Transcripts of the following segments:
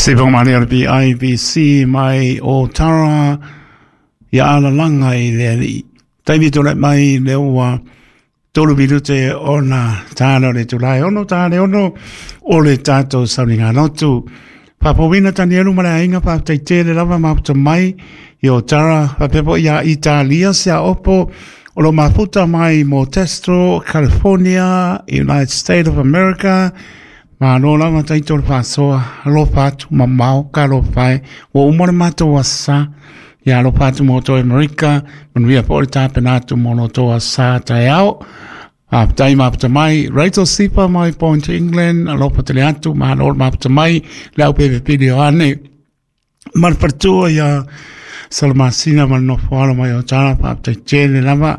Sipomalia le BIBC mai o Tara ia alalaga i le alii. Taimi tulai mai le ua 3 minute ona tala o le itula e 6, ta le 6 o le tatou sauniga lotu. Faapouina Tanielu ma le aiga, faafetai tele lava mafuta mai i o Tara, faapea foi ia Italia se opo o lo mafuta mai Modesto, California, United States of America. Malo lava taito le faasoa, alofa atu mamao ka alofa e. Ua uma le matou asa. Ia alofa atu mo outou Amerika, manuia foi le tapena atu mo lo outou asa taeao. Faafetai mafuta mai Rachel Sipa mai Point England, alofa tele atu, malo le mafuta mai le au pepe o ane. Ma le faletua ia Salamasina ma le nofo mai o Tara, faafetai tele lava.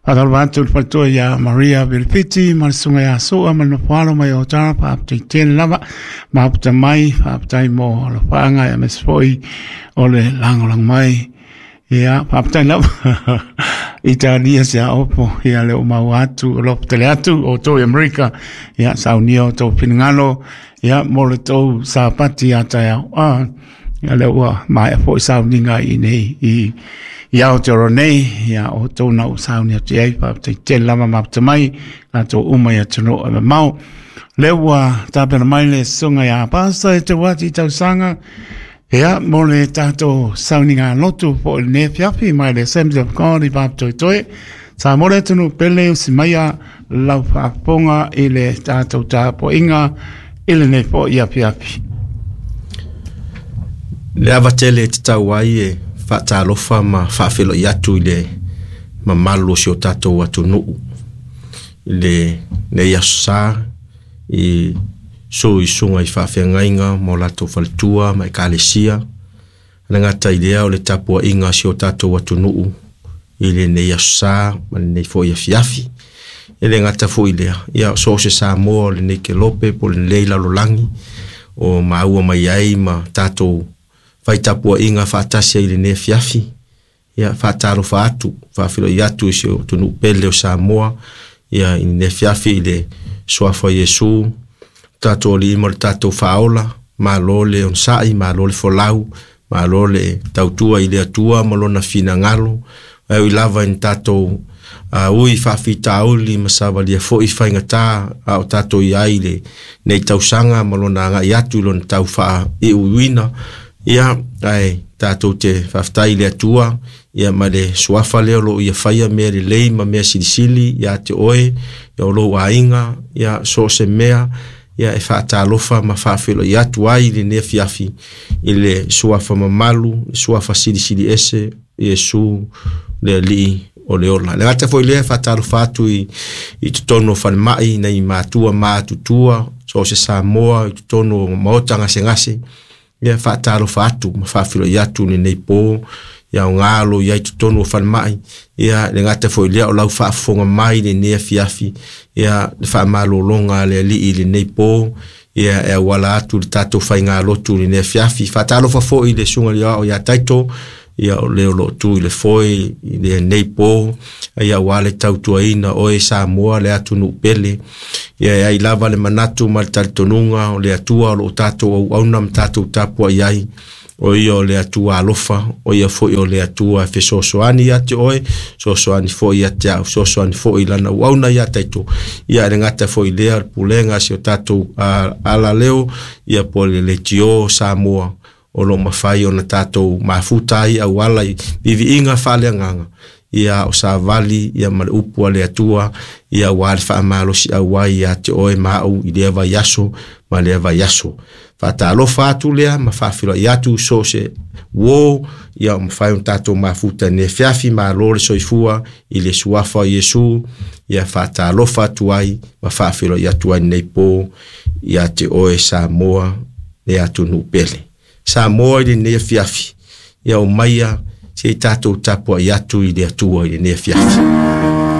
Faatalofa atu le faletua ia Maria Vilifiti ma le susuga ia Sua ma le nofo mai o Tara, faafetai tele lava. Mafuta mai, faafetai mo alofaaga aemaise foi o le lagolago mai. Ia, faafetai lava. Italia se opo, ia le o mau atu, alofa tele atu, o outou i Amerika, ia saunia o outou finagalo, ia mo le tou sapati a taeao. Ah, ia lea ua maea foi sauniga i nei i Aotearoa nei, ia o outou na ua sauni atu i ai, faafetai tele lava mafuta mai, latou uma i atunuu e mamao. Lea ua tapena mai le susuga ia Pasta e Teuati Tausaga, ia, mo le tatou sauniga lotu po i lenei afiafi mai le Assembly of God i Papatoetoe. Sa mo le atunuu pele usi maia lau faafofoga i le tatou tapuaiga i lenei foi afiafi. Le ava tele e tatau ai e faatalofa ma faafeiloai atu i le mamalu o si o tatou atunuu i lenei aso sa i susuga i faafeagaiga ma o latou faletua ma ekalesia. Le gata i lea o le tapuaiga a si o tatou atunuu i lenei aso sa ma lenei foi afiafi. E le gata foi i lea, ia so o se Samoa o lenei kelope po o lenei lalolagi o maua mai ai ma tatou fai tapuaiga faatasi ai i lenei afiafi. Ia faatalofa atu, faafeiloai atu i si o atunuu pele o Samoa, ia i lenei afiafi i le suafa o Iesu, tatou Alii ma le tatou Faaola, malo le onosai, malo le folau, malo le tautua i le Atua ma lona finagalo. Ae ui lava ina tatou ui faafitauli ma savalia foi faigata a o tatou i ai i lenei tausaga ma lona agai atu i lona tau faaiuiuina, ia ae tatou te faafetai i le Atua ia ma le suafa lea o lo o ia faia mea lelei ma mea silisili ia te oe, ia o lou aiga, ia so o se mea, ia e faatalofa ma faafeiloai atu ai i lenei afiafi i le suafa mamalu, le suafa silisili ese, Iesu le Alii o le ola. Le gata foi lea, faatalofa atu i totonu o falemai, nai matua matutua, so o se Samoa i totonu o maota gasegase, ia faatalofa atu ma faafeiloai atu i lenei po, ia o galo i ai totonu o falemai, ia le gata foi lea o lau faafofoga mai i lenei afiafi, ia le faamalologa a le Alii i lenei po, ia e auala atu le tatou faigalotu i lenei afiafi. Faatalofa foi i le susuga i le Aoao ia Taito, ia o le o lo o tu i le foe i lenei po, ia aua le tautuaina oe Samoa le atunuu pele. Ia e ai lava le manatu ma le talitonuga o le Atua o lo o tatou auauna ma tatou tapuai ai, o ia o le Atua alofa, o ia foi o le Atua e fesoasoani ia te oe, fesoasoani foi ia te au, fesoasoani foi i lana auauna ia Taito. Ia e le gata foi lea o le pulega a si o tatou alaleo, ia po o le Leitio Samoa, o lo o mafai ona tatou mafuta ai auala i viviiga faaleagaga, ia o savali ia ma le upu a le Atua, ia aua le faamalosi auai ia te oe ma au i lea vaiaso ma lea vaiaso. Faatalofa atu lea ma faafeiloai atu so o se uo, ia o mafai ona tatou mafuta i lenei afiafi, malo le soifua i le suafa o Iesu, ia faatalofa atu ai ma faafeiloai atu ai lenei po ia te oe Samoa le atunuu pele. Samoa i lenei afiafi, ia o maia se i tatou tapuai atu i le Atua i lenei afiafi.